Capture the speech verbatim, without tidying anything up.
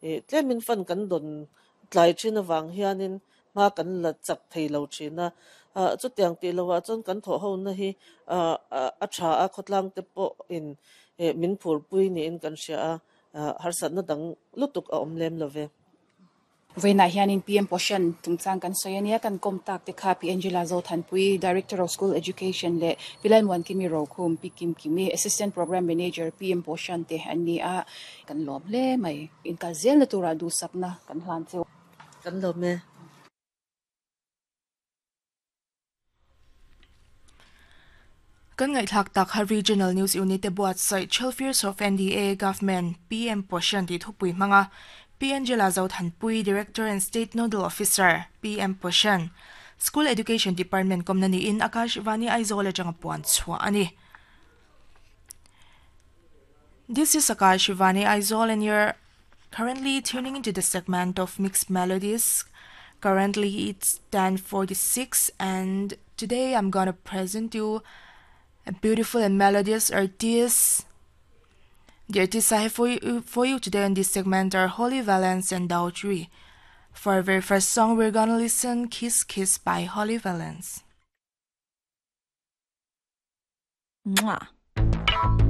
Tlemin fund kan dawn tlai thin avang hianin hma kan la chak thei lo thin a. Chutiang tih lohah chuan kan thawh hona hi a tha a, khawtlang te pawhin min phurpui niin kan hria a, harsatna dang lutuk a awm lem lo ve. Vawiinah hianin P M Poshan chungchang kan sawi a nia, kan kawm tak te kha Pi Angela Zothanpui, Director of School Education leh Pi Lalmuankimi Rokhum, Pi Kim Kimi, Assistant Programme Manager P M Poshan te an ni a, kan lawm hle mai. Inkal zelna turah duhsakna kan hlan cheu. Kan lawm e. Kan ngaihthlak tak kha Regional News Unit te buatsaih Twelve Years of N D A Government P M Poshan tih thupui hmanga Pi Angela Zothanpui, Director and State Nodal Officer, P M Poshan, School Education Department kawmna niin Akashvani Aizawl atanga puan chhuah a ni. This is Akashvani Aizawl and you're currently tuning into the segment of Mixed Melodies. Currently it's ten forty-six and today I'm gonna present you a beautiful and melodious artist. The artists I have for you, for you today in this segment are Holly Valance and Daughtry. For our very first song, we're gonna listen Kiss Kiss by Holly Valance. Mwah.